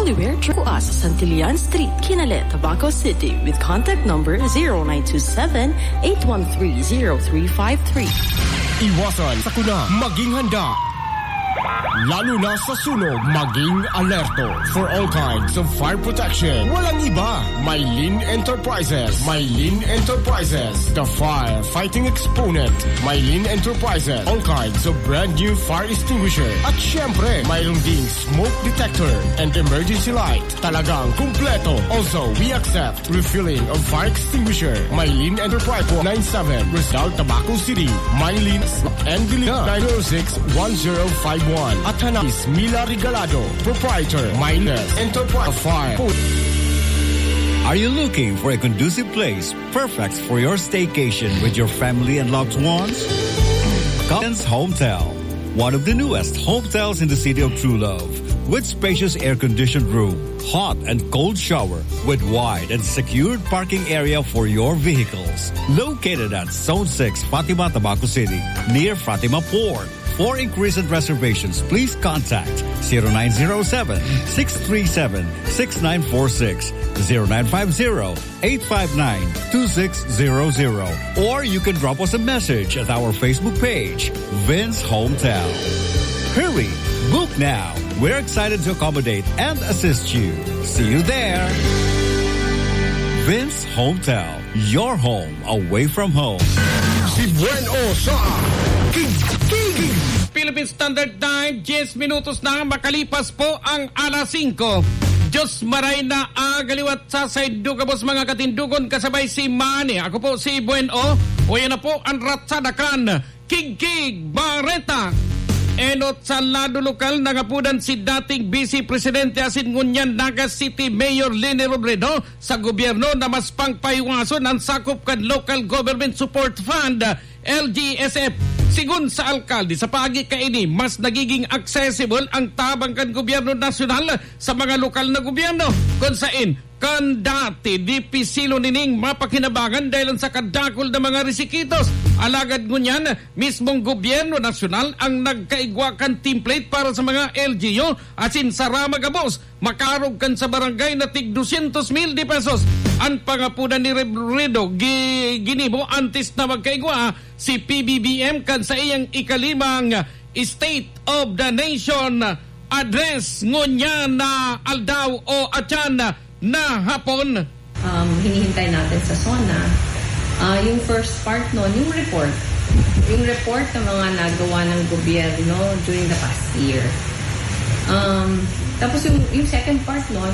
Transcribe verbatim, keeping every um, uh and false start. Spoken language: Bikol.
Where Truas, Santillan Street, Kinale, Tabaco City, with contact number zero nine two seven, eight one three, zero three five three. Iwasan sakuna, maging handa. Lalo na sa sunog, maging alerto. For all kinds of fire protection, walang iba. Mylene Enterprises. Mylene Enterprises, the firefighting exponent. Mylene Enterprises, all kinds of brand new fire extinguisher. At syempre, mayroon ding smoke detector and emergency light. Talagang kumpleto. Also, we accept refilling of fire extinguisher. Mylene Enterprise, nine seven, Rizal, Tabaco City. Mylene and Diligan, nine zero six, one zero five one. At Hanas Mila Regalado, proprietor, Mylene Enterprise Fire. Are you looking for a conducive place perfect for your staycation with your family and loved ones? Coppens Hometel, one of the newest hotels in the city of True Love, with spacious air-conditioned room, hot and cold shower, with wide and secured parking area for your vehicles. Located at Zone six, Fatima, Tabaco City, near Fatima Port. For inquiries and reservations, please contact zero nine zero seven, six three seven, six nine four six, zero nine five zero, eight five nine, two six zero zero. Or you can drop us a message at our Facebook page, Vince Hometel. Hurry! Book now! We're excited to accommodate and assist you. See you there! Vince Hometel, your home away from home. Si Buen O sa Kigkig. Philippine Standard Time, diyes minutos na makalipas po ang alas singko. Diyos maray na agaliwat sa saindo gabos, mga katindogon, kasabay si Manny. Ako po si Buen O. O yan na po ang ratsada kan Kigkig Bareta. Enot sa lado lokal, nangapodan si dating Vice Presidente asin ngunyan Naga City Mayor Leni Robredo sa gobyerno na mas pangpahiwason ang sakop kan Local Government Support Fund, L G S F. Sigon sa alkalde, sa paagi kaini, mas nagiging accessible ang tabang kan gobyerno nasyonal sa mga lokal na gobyerno, kun saen kan dati, dipisilon nining mapakinabangan dahelan sa kadakul na mga resikitos. Alagad ngunyan, mismong gobyerno nasyonal ang nagkaigwa kan template para sa mga L G U asin sa rama gabos, makarog kan sa barangay na tig dosyentos mil de pesos. An pangapodan ni Robredo gi-, ginibo antes na magkaigwa si P B B M kan saiyang ikalimang State of the Nation Address ngunyan na aldaw o atyan na hapon. Um, hinihintay natin sa SONA, ah, yung first part nun, yung report. Yung report ng mga nagawa ng gobyerno during the past year. Um, tapos yung, yung second part nun,